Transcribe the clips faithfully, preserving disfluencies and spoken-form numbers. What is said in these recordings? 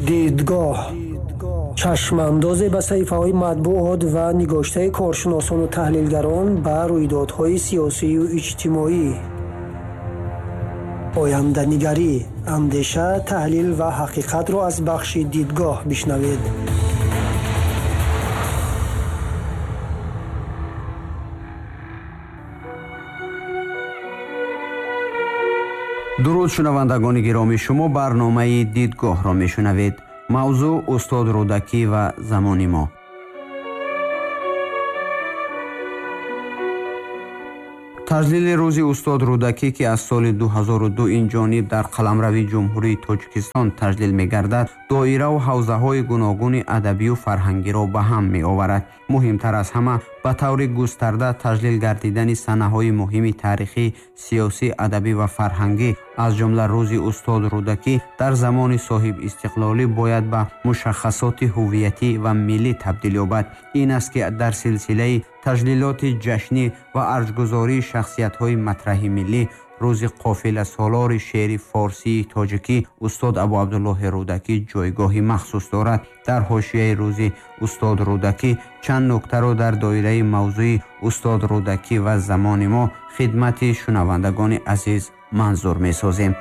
Дидгоҳ чашмандозе ба саҳифаҳои матбуот ва нигоштаи коршиносону таҳлилгарон ба рӯйдодҳои сиёсию иҷтимоӣ. Оянданигарӣ, андеша, таҳлил ва ҳақиқатро аз бахши дидгоҳ бишнавед. Дуруд шунавандагони гиромӣ, шумо барномаи дидгоҳро мешунавед. Мавзӯъ устод Рӯдакӣ ва замони мо. Таҷлили рӯзи устод Рӯдакӣ, ки аз соли ду ҳазору ду ин ҷониб дар қаламрави Ҷумҳурии Тоҷикистон таҷлил мегардад, доираву ҳавзаҳои гуногуни адабию фарҳангиро ба ҳам меоварад. Муҳимтар аз ҳама, ба таври густарда таҷлил гардидани санаҳои муҳими таърихӣ, сиёсӣ, адабӣ ва фарҳангӣ, аз ҷумла рӯзи устод Рӯдакӣ дар замони соҳибистиқлолӣ бояд ба мушаххасоти ҳувиятӣ ва миллӣ табдил ёбад. Ин аст, ки дар силсилаи таҷлилоти ҷашнӣ ва арҷгузории шахсиятҳои матраҳи миллӣ, рӯзи қофиласолори шеъри форсии тоҷикӣ устод Абу Абдуллоҳи Рӯдакӣ ҷойгоҳи махсус дорад. Дар ҳошияи рӯзи устод Рӯдакӣ чанд нуктаро дар доираи мавзӯи устод Рӯдакӣ ва замони мо хидмати шунавандагони азиз манзур месозем.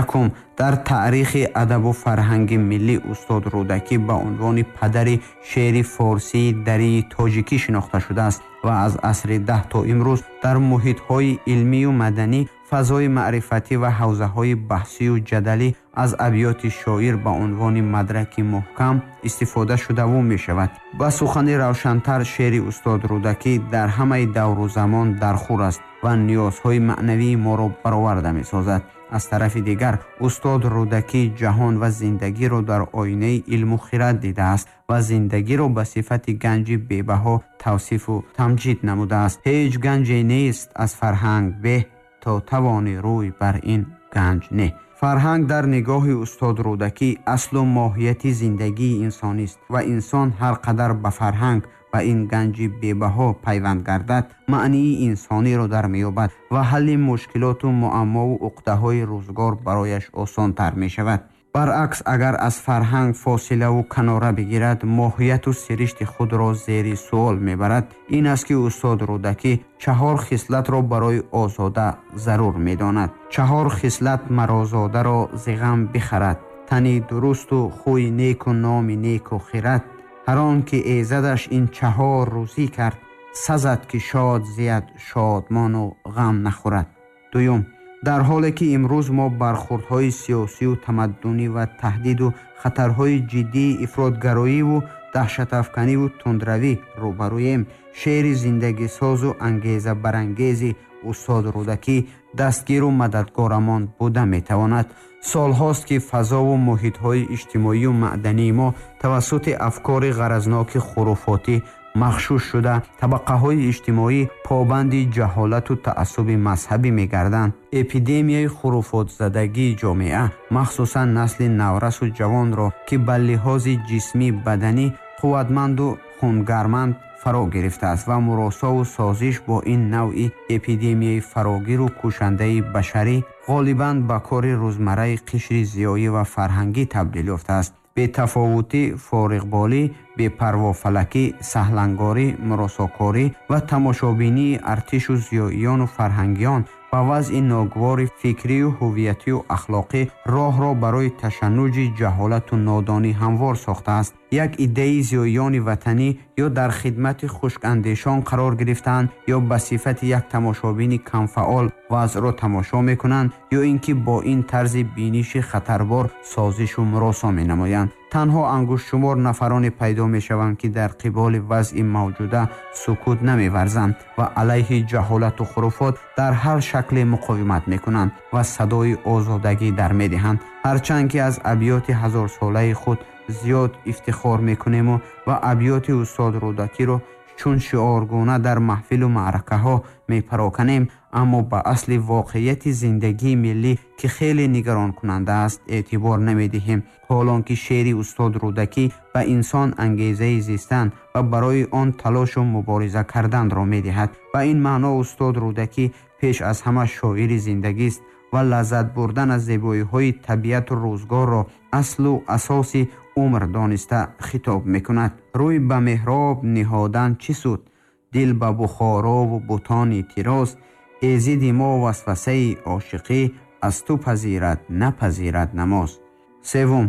Якум, дар таърихи адабу фарҳанги миллӣ устод Рӯдакӣ ба унвони падари шеъри форсии дарии тоҷикӣ шинохта шудааст ва аз асри даҳ то имрӯз дар муҳитҳои илмию маданӣ, фазои маърифатӣ ва ҳавзаҳои баҳсию ҷадалӣ аз абёти шоир ба унвони мадраки муҳкам истифода шудаву мешавад. Ба сухани равшантар, шеъри устод Рӯдакӣ дар ҳамаи давру замон дархур аст ва ниёзҳои маънавии моро бароварда месозад. Аз тарафи дигар, устод Рӯдакӣ ҷаҳон ва зиндагиро дар оинаи илму хирад дидааст ва зиндагиро ба сифати ганҷи бебаҳо тавсифу тамҷид намудааст. Ҳеҷ ганҷе нест аз фарҳанг беҳ, то тавони рӯй бар ин ганҷ не. Фарҳанг дар нигоҳи устод Рӯдакӣ аслу моҳияти зиндагии инсонист ва инсон ҳар қадар ба фарҳанг ва ин ганҷи бебаҳо пайванд гардад, маънии инсониро дар меёбад ва ҳалли мушкилоту муаммову уқдаҳои рӯзгор барояш осонтар мешавад. Баръакс, агар аз фарҳанг фосилаву канора бигирад, моҳияту сиришти худро зери суол мебарад. Ин аст, ки устод Рӯдакӣ чаҳор хислатро барои озода зарур медонад. Чаҳор хислат марозодаро зи ғам бихарад: тани дурусту хӯи неку номи неку хират. Ҳар он ки эзадаш ин чаҳор рӯзӣ кард, сазад ки шод зияд шодмону ғам нахӯрад. Дуюм, дар ҳоле ки имрӯз мо бархӯрдҳои сиёсию тамаддунӣ ва таҳдиду хатарҳои ҷиддии ифротгароиву даҳшатафканиву тундравӣ рӯбарӯем, шеъри зиндагисозу ангезабарангези устод Рӯдакӣ дастгиру мададгорамон буда метавонад. Солҳост, ки фазову муҳитҳои иҷтимоию маъдании мо тавассути афкори ғаразноки хуруфотӣ махшуш шуда, табақаҳои иҷтимоӣ побанди ҷаҳолату таассуби мазҳабӣ мегарданд. Эпидемияи хуруфотзадагии ҷомеа, махсусан насли наврасу ҷавонро, ки ба лиҳози ҷисмӣ баданӣ қувватманду хунгарманд фаро гирифтааст ва муросову созиш бо ин навъи эпидемияи фарогиру кушандаи башарӣ ғолибан ба кори рӯзмарраи қишри зиёӣ ва фарҳангӣ табдил ёфтааст. Бетафовутӣ, фориғболӣ, бепарвофалакӣ, саҳлангорӣ, муросокорӣ ва тамошобинии артишу зиёиёну фарҳангиён ба вазъи ногувори фикрию ҳувиятию ахлоқӣ роҳро барои ташаннуҷи ҷаҳолату нодонӣ ҳамвор сохтааст. Як иддаи зиёиёни ватанӣ ё дар хидмати хушкандешон қарор гирифтаанд, ё ба сифати як тамошобини камфаъол вазъро тамошо мекунанд, ё ин ки бо ин тарзи биниши хатарбор созишу муросо менамоянд. Танҳо ангуштшумор нафароне пайдо мешаванд, ки дар қиболи вазъи мавҷуда сукут намеварзанд ва алайҳи ҷаҳолату хуруфот дар ҳар шакле муқовимат мекунанд ва садои озодагӣ дар медиҳанд. Ҳарчанд ки аз абёти ҳазорсолаи худ зиёд ифтихор мекунему ва абёти устод Рӯдакиро чун шиоргуна дар маҳфилу маъракаҳо мепароканем, аммо ба асли воқеияти зиндагии миллӣ, ки хеле нигаронкунанда аст, эътибор намедиҳем. Ҳолон ки шеъри устод Рӯдакӣ ба инсон ангезаи зистан ва барои он талошу мубориза карданро медиҳад. Ба ин маъно устод Рӯдакӣ пеш аз ҳама шоири зиндагист ва лаззат бурдан аз зебоиҳои табиату рӯзгорро аслу асоси умр дониста хитоб мекунад. Рӯй ба меҳроб ниҳодан чӣ суд, дил ба Бухорову бутони тироз, эзиди мо васвасаи ошиқӣ аз ту пазирад, напазирад намоз. Севум,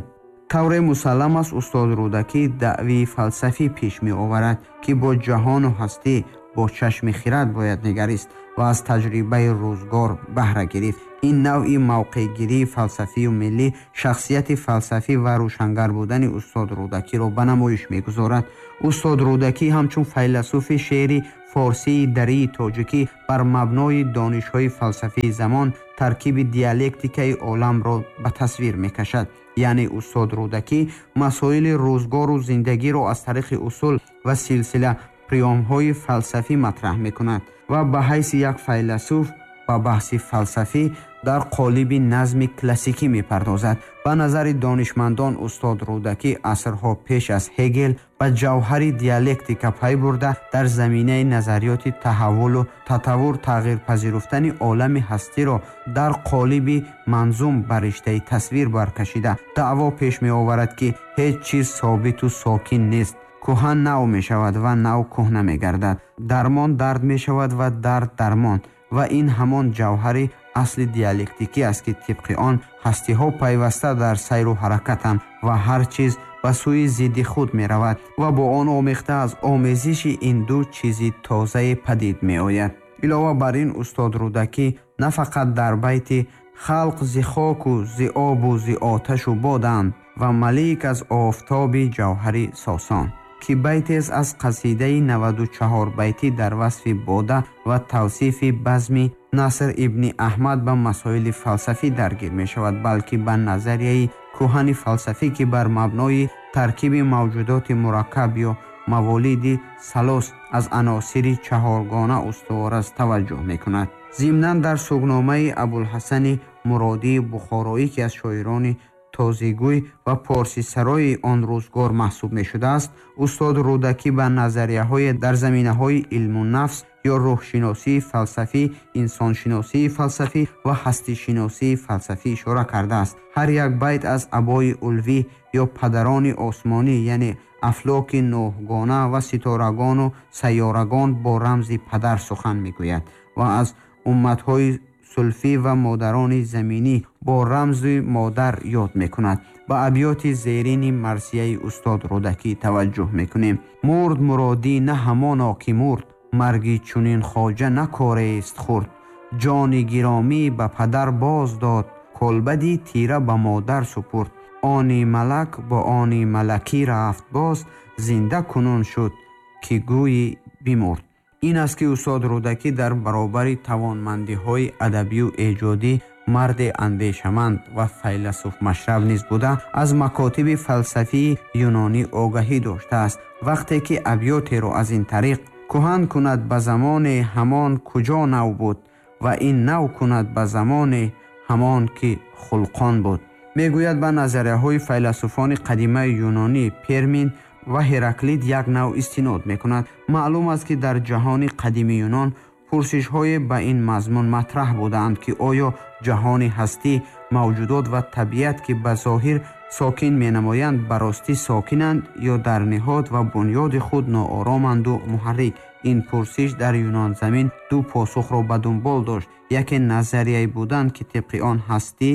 тавре мусаллам аст, устод Рӯдакӣ даъвии фалсафӣ пеш меоварад, ки бо ҷаҳону ҳастӣ бо чашми хирад бояд нигарист ва аз таҷрибаи рӯзгор баҳра гирифт. Ин навъи мавқеъгирии фалсафию миллӣ шахсияти фалсафӣ ва рӯшангар будани устод Рӯдакиро ба намоиш мегузорад. Устод Рӯдакӣ ҳамчун файласуфи шеъри форсии дарии тоҷикӣ бар мабнои донишҳои фалсафии замон таркиби диалектикаи оламро ба тасвир мекашад. Яъне устод Рӯдакӣ масоили рӯзгору зиндагиро аз тариқи усул ва силсила приёмҳои фалсафӣ матраҳ мекунад ва ба ҳайси як файласуф ба баҳси фалсафӣ дар қолиби назми классикӣ мепардозад. Ба назари донишмандон, устод Рӯдакӣ асрҳо пеш аз Ҳегел ба ҷавҳари диалектика пай бурда, дар заминаи назариёти таҳаввулу татаввур тағйирпазируфтани олами ҳастиро дар қолиби манзум ба риштаи тасвир баркашида, даъво пеш меоварад, ки ҳеҷ чиз собиту сокин нест. Кӯҳан нав мешавад ва нав кӯҳна мегардад. Дармон дард мешавад ва дард дармон. Ва ин ҳамон ҷавҳари асли диалектикӣ аст, ки тибқи он ҳастиҳо пайваста дар сайру ҳаракатанд ва ҳар чиз ба сӯи зидди худ меравад ва бо он омехта аз омезиши ин ду чизи тозае падид меояд. Илова бар ин, устод Рӯдакӣ на фақат дар байти халқ зи хоку зи обу зи оташу боданд ва малик аз офтоби ҷавҳари сосон, ки байтест аз қасидаи наваду чаҳор байтӣ дар васфи бода ва тавсифи базми Наср ибни Аҳмад ба масоили фалсафӣ даргир мешавад, балки ба назарияи кӯҳани фалсафӣ, ки бар мабнои таркиби мавҷудоти мураккаб ё маволиди салос аз аносири чаҳоргона устувор аст, таваҷҷӯҳ мекунад. Зимнан дар сугномаи Абулҳасани Муродии Бухороӣ, ки аз шоирони тозигӯй ва порсисарои он рӯзгор маҳсуб мешудааст, устод Рӯдакӣ ба назарияҳои дар заминаҳои илму нафс ё рӯҳшиносии фалсафӣ, инсоншиносии фалсафӣ ва ҳастишиносии фалсафӣ ишора кардааст. Ҳар як байт аз абои улвӣ ё падарони осмонӣ, яъне афлоки нӯҳгона ва ситорагону сайёрагон бо рамзи падар сухан мегӯяд ва аз умматҳои сулфӣ ва модарони заминӣ бо рамзи модар ёд мекунад. Ба абёти зерини марсияи устод Рӯдакӣ таваҷҷӯҳ мекунем. Мурд муродӣ на ҳамоно ки мурд, марги чунин хоҷа накорест хурд. Ҷони гиромӣ ба падар боз дод, колбади тира ба модар супурд. Они малак бо они малакӣ рафт боз, зинда кунун шуд ки гӯйи бимурд. Ин аст ки устод Рӯдакӣ дар баробари тавонмандиҳои адабию эҷодӣ марди андешаманд ва файласуфмашраб низ буда, аз макотиби фалсафии юнонӣ огаҳӣ доштааст. Вақте ки абётеро аз ин тариқ кӯҳан кунад ба замоне ҳамон куҷо нав буд ва ин нав кунад ба замоне ҳамон ки хулқон буд, мегӯяд ба назарияҳои файласуфони қадимаи юнонӣ Пермин ва Ҳераклит як нав истинод мекунад. Маълум аст, ки дар ҷаҳони қадими юнон пурсишҳое ба ин мазмун матраҳ будаанд, ки оё ҷаҳони ҳастӣ, мавҷудот ва табиат, ки ба зоҳир сокин менамоянд, ба ростӣ сокинанд ё дар ниҳод ва бунёди худ ноороманду муҳаррик. Ин пурсиш дар юнонзамин ду посухро ба дунбол дошт. Яке назарияе буданд, ки тибқи он ҳастӣ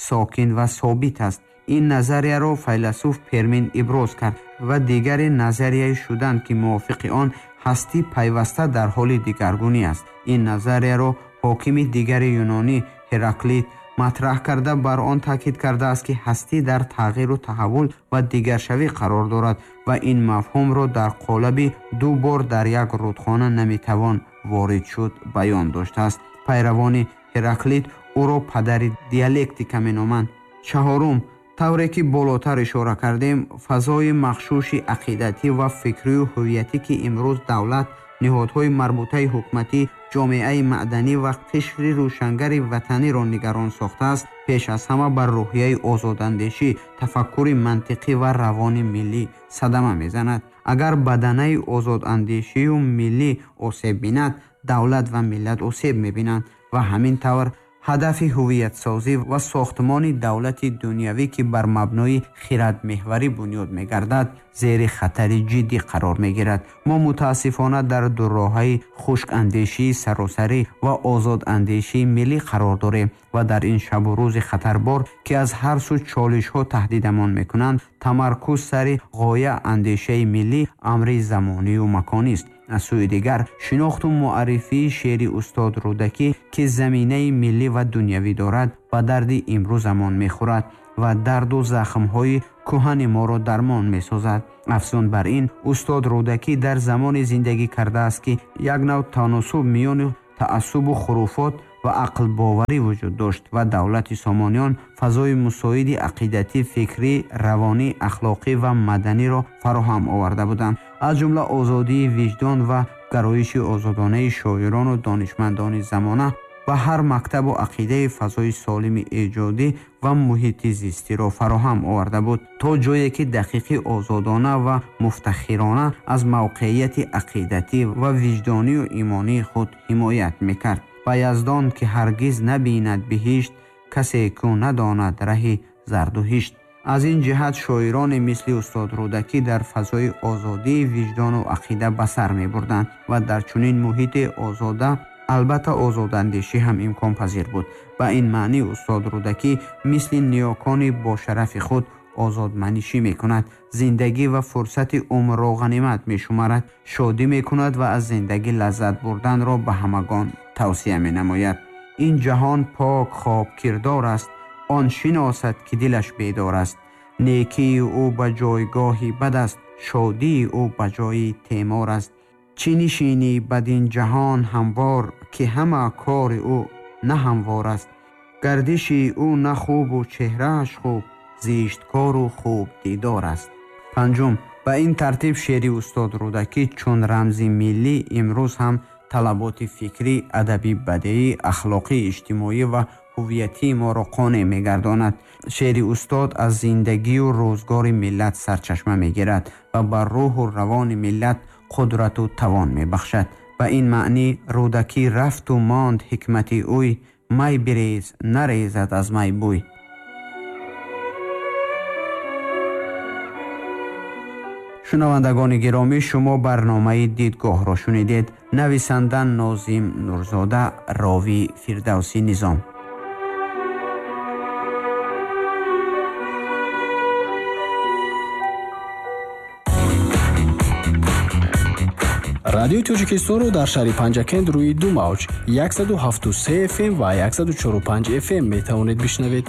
сокин ва собит аст. Ин назарияро файласуф Пермин иброз кард ва дигаре назарияе шуданд, ки мувофиқи он ҳастӣ пайваста дар ҳоли дигаргунӣ аст. Ин назарияро ҳокими дигари юнонӣ Ҳераклит матраҳ карда, бар он таъкид кардааст, ки ҳастӣ дар тағйиру таҳаввул ва дигаршавӣ қарор дорад ва ин мафҳумро дар қолаби ду бор дар як рудхона наметавон ворид шуд баён доштааст. Пайравони Ҳераклит ӯро падари диалектика меноманд. Чаҳорум, тавре ки болотар ишора кардем, фазои махшуши ақидатӣ ва фикрию ҳувиятӣ, ки имрӯз давлат, ниҳодҳои марбутаи ҳукуматӣ, ҷомеаи маданӣ ва қишри рӯшангари ватаниро нигарон сохтааст, пеш аз ҳама бар рӯҳияи озодандешӣ, тафаккури мантиқӣ ва равони миллӣ садама мезанад. Агар баданаи озодандешию миллӣ осеб бинад, давлат ва миллат осеб мебинанд ва ҳамин тавр Ҳадафи ҳувиятсозӣ ва сохтмони давлати дунявӣ, ки бар мабнои хирадмеҳварӣ бунёд мегардад, зери хатари ҷиддӣ қарор мегирад. Мо мутаассифона дар дурроҳаи хушкандешии саросарӣ ва озодандешии миллӣ қарор дорем ва дар ин шабу рӯзи хатарбор, ки аз ҳар сӯ чолишҳо таҳдидамон мекунанд, тамаркуз сари ғоя андешаи миллӣ амри замонию маконист. Аз сӯи дигар, шинохту муаррифии шеъри устод Рӯдакӣ, ки заминаи миллӣ ва дунявӣ дорад, ба дарди имрӯзамон мехӯрад ва дарду захмҳои кӯҳани моро дармон месозад. Афзун бар ин, устод Рӯдакӣ дар замоне зиндагӣ кардааст, ки як нав таносуб миёни таассубу хуруфот ва ақлбоварӣ вуҷуд дошт ва давлати Сомониён фазои мусоиди ақидатӣ, фикрӣ, равонӣ, ахлоқӣ ва маданиро фароҳам оварда буданд. Аз ҷумла озодии виҷдон ва гароиши озодонаи шоирону донишмандони замона ба ҳар мактабу ақидаи фазои солими эҷодӣ ва муҳити зистиро фароҳам оварда буд, то ҷое ки дақиқӣ озодона ва муфтахирона аз мавқеияти ақидатӣ ва виҷдонию имонии худ ҳимоят мекард. Ба Яздон, ки ҳаргиз набинад биҳишт, касе кӯ надонад раҳи зардуҳишт. Аз ин ҷиҳат шоироне мисли устод Рӯдакӣ дар фазои озодии виҷдону ақида ба сар мебурданд ва дар чунин муҳити озода албатта озодандешӣ ҳам имконпазир буд. Ба ин маънӣ устод Рӯдакӣ мисли ниёкони бошарафи худ озодманишӣ мекунад, зиндагӣ ва фурсати умрро ғанимат мешуморад, шодӣ мекунад ва аз зиндагӣ лаззат бурданро ба ҳамагон тавсия менамояд. Ин ҷаҳон пок хобкирдор аст, он шиносад, ки дилаш бедор аст. Некии ӯ ба ҷойгоҳи бад аст, шодии ӯ ба ҷои темор аст. Чӣ нишинӣ бадин ҷаҳон ҳамвор, ки ҳама кори ӯ на ҳамвор аст. Гардиши ӯ на хубу чеҳрааш хуб, зишткору хуб дидор аст. Панҷум, ба ин тартиб шеъри устод Рӯдакӣ чун рамзи миллӣ имрӯз ҳам талаботи фикрӣ, адабӣ, бадеӣ, ахлоқӣ, иҷтимоӣ ва ҳувиятии моро қонеъ мегардонад. Шеъри устод аз зиндагию рӯзгори миллат сарчашма мегирад ва ба рӯҳу равони миллат қудрату тавон мебахшад. Ба ин маънӣ Рӯдакӣ рафту монд ҳикмати ӯй, май бирез, нарезад аз май бӯй. Шунавандагони гиромӣ, шумо барномаи Дидгоҳро шунидед. Нависанда Нозим Нурзода, ровӣ Фирдавсӣ Низом. Радиои Тоҷикистонро дар шаҳри Панҷакент рӯи ду мавҷ яксаду ҳафту се эф эм ва яксаду чору панҷ эф эм метавонед бишнавед.